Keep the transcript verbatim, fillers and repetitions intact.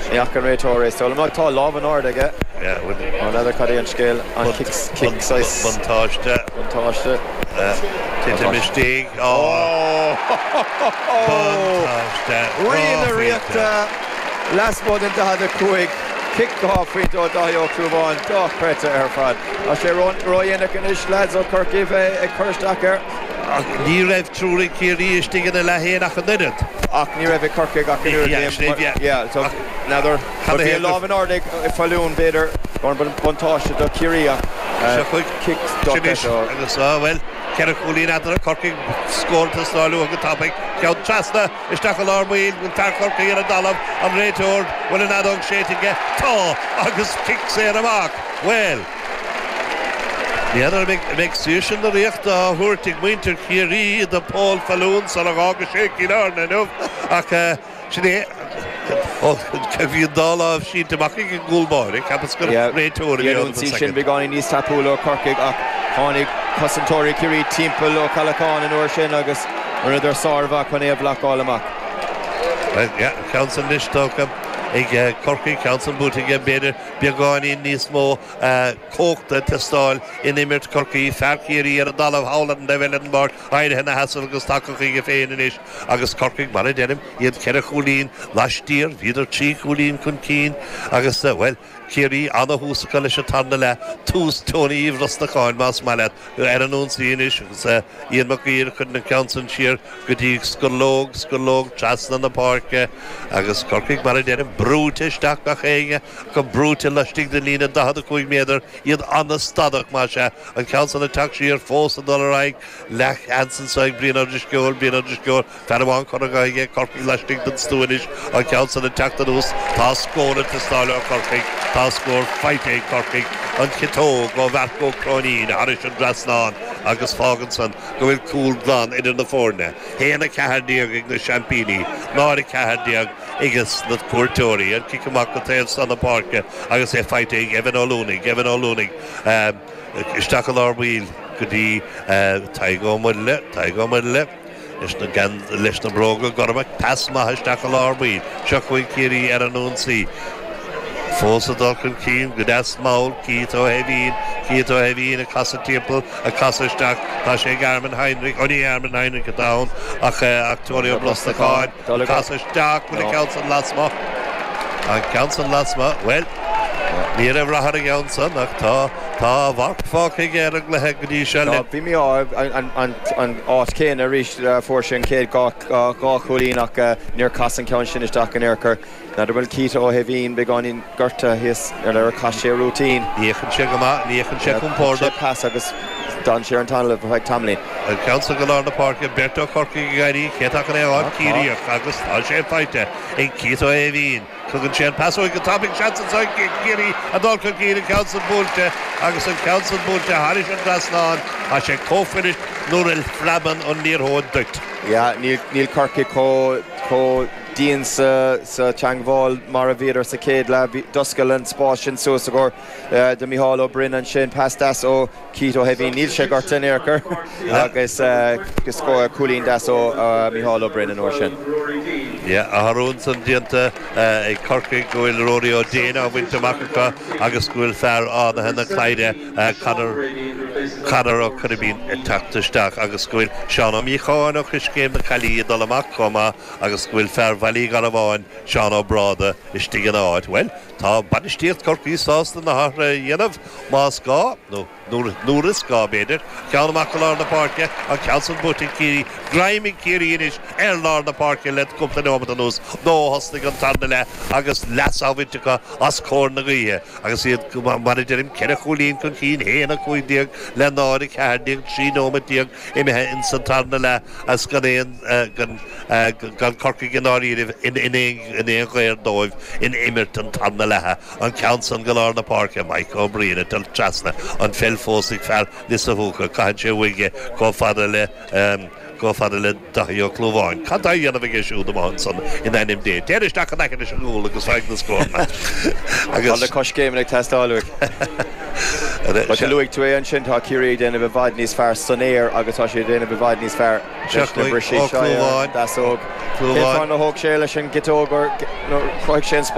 Ní fhaca an réiteoir é so tá lámh in airde aige. N'fheadar cad é an scéal an cic Buntáiste. Buntáiste. Titim istigh. Buntáiste. Rí na Ríochta lasmuigh den daichead a cúig. Cic dhá phointe ó Dáithí Ó Clúmháin dochreidte ar fad. Tá sé ródhéanach anois lads ó Chorcaigh bheith ag cur isteach air. Ach ní raibh triúr ag Ciarraí istigh ina leath féin ach an oiread. Ach ní raibh ag Corcaigh ach an oiread. N'fheadar bhí lámh in airde ag Fallún b'fhéidir buntáiste do Chiarraí ach cic dochreidte. Agus bhuel ceithre chúilín eatarthu Corcaigh scór ag teastáil uathu go tapaidh ceann trasna isteach i lár baill bhfuil fear Chorcaí ar an dtalamh an réiteoir bhfuil an fheadóg séidte aige tá agus cic saor amach bhuel N'fheadar an mbeidh saoirse na Ríochta á thabhairt ag muintir Chiarraí do Paul Fallún sula bhfága sé Cill Airne inniu ach sin é bhí an dá lámh sínte amach ag an gcúl báire cheapas gur réiteoir a bhí ann sin sin beagáinín níos tapúla ó Chorcaigh ach tháinig cosantóirí Chiarraí timpeall Ó Ceallacháin an uair sin agus rinneadar sármhaith chun é a bhlocáil amach. Ceann san anois tógtha ag Corcaigh ceann san buaite aige b'fhéidir beagáinín níos mó cumhachta ag teastáil in imirt Chorcaí fear Chiarraí ar an dtalamh thall ar an taobh eile den bpáirc éirithe ina sheasamh agus tagtha chuige féin anois agus Corcaigh mar a deirim iad ceithre chúilín laistiar bhíodar trí chúilín chun cinn agus bhuel Ciarraí ana-thús acu leis an tarna leath tús Tony Uí Bhrosnacháin más maith leat ar an ionsaí anois agus Ian Mac Uidhir chuir an ceann san siar go dtí Scearlóg Scearlóg trasna na páirce agus Corcaigh mar a deirim brúite isteach gach éinne go brúite laistigh den líne daichead a cúig méadar iad an-stadach más ea an ceann san ag teacht siar fós ag dul ar aghaidh leathsheans anseo ag Brian Ó Drisceoil Brian Ó Drisceoil fear amháin curtha aige Corcaigh laistigh den stua anois an ceann san ag teacht anuas tá scór ag teastáil ó Chorcaigh tá scór faighte ag Corcaigh an chiotóg ó Mharc Ó Cróinín thairis an dtrasnán agus fágann san go bhfuil cúl glan idir na foirne haon a ceathair déag ag na seaimpíní náid a ceathair déag ages na cuairteoirí an cic amach go taobh san na páirce agus é faighte ag Evan Ó Luanaigh Evan Ó Luanaigh isteach i lár baill go dtí Tadhg Ó Muirthile Tadhg Ó Muirthile leis na gan leis na bróga gorma pas maith isteach i lár baill seo chugainn Ciarraí ar an ionsaí fós ag dul chun cinn go deas mall Keith Ó hEimhín Keith Ó hEimhín ag casadh timpeall ag casadh isteach tá sé ag Armin Heinrich ó ní Armin Heinrich atá ann ach ach Tony Ó Brosnacháin casadh isteach bhfuil an ceann san lasmuigh an ceann san lasmuigh bhuel ní raibh rath ar an gceann san ach tá tá a mharc fágtha aige ar an gcluiche go dtí seo le Bhí mé an an an áit céanna arís fuair sé an chéad dhá chúilín ach níor chas an ceann sin isteach in aon chor. N'fheadar bhfuil Keith Ó hEimhín beagáinín gortaithe thíos ar ar chaith sé rúitín. Ní fhéachann sé go maith ní fhéachann sé compordach. Pas agus d'fhan sé ar an talamh ar feadh tamaillín. An ceann san go lár na páirce beirt ó Chorcaigh ag éirí cé atá chun é a fháil Ciarraíoch agus tá sé faighte ag Keith Ó hEimhín. Tugann sé an pas uaidh go tapaidh seans anseo ag Ciarraí a dul chun cinn an ceann san buailte agus an ceann san buailte thairis an trasnán tá sé chomh fuirist nuair a phreabann an liathróid duit. Yeah, níl níl Corcaigh chomh chomh dian sa sa teagmháil mar a bhíodar sa chéad leath d'oscail an spás sin suas i gcomhair de Micheál Ó Broin ansin pas deas ó Keith Ó hEimhín níl sé gortaithe in aon chor agus agus cúilín deas ó Micheál Ó Broin an uair sin. Yeah, athrú ansan déanta ag Corcaigh go bhfuil Rory Ó Déin á bhaint amach acu agus go bhfuil fear Fhánaithe na Cladhra Conor Conor Ó Coirbín ag teacht isteach agus go bhfuil Seán Ó Míocháin ó Choiscéim na Caillí ag dul amach chomh maith agus go bhfuil fear Bhaile Uí Gharbháin Seán Ó Bráda istigh ina áit. Well, tá bainistíocht Chorcaí sásta na hathruithe a dhéanamh más gá nó nuair is gá b'fhéidir ceann amach go lár na páirce an ceann san buaite ag Ciarraí greim ag Ciarraí anois ar lár na páirce le cúpla nóiméad anuas nó thosnaigh an tarna leath agus leas á bhaint acu as cóir na gaoithe agus iad mar a deirim ceithre chúilín chun cinn haon a cúig déag le náid a ceathair déag trí nóiméad déag imithe in san tarna leath as gan aon gan gan Corcaigh in áiríomh in in aon in aon ghair dóibh in imirt an tarna leatha an ceann san go lár na páirce Mike Ó Briain ag dul trasna an pheil fós ag fear Lios a' Mhúca caitheann sé uaidh chomh fada le chomh fada le Daithí Ó Clúmháin. Cad tá á dhéanamh aige siúd amach ansan in ainm Dé. Téir isteach in aice leis an gcúl agus faigh na scóranna. Agus na coiscéimeanna ag teastáil uaidh. Luaigh tú é ansin tá Ciarraí ag déanamh i bhfad níos fearr san aer agus tá sé ag déanamh i bhfad níos fearr leis na briseadh seo deasóg. Cén fáth nár thóg sé leis an gciotóg chruthaigh sé an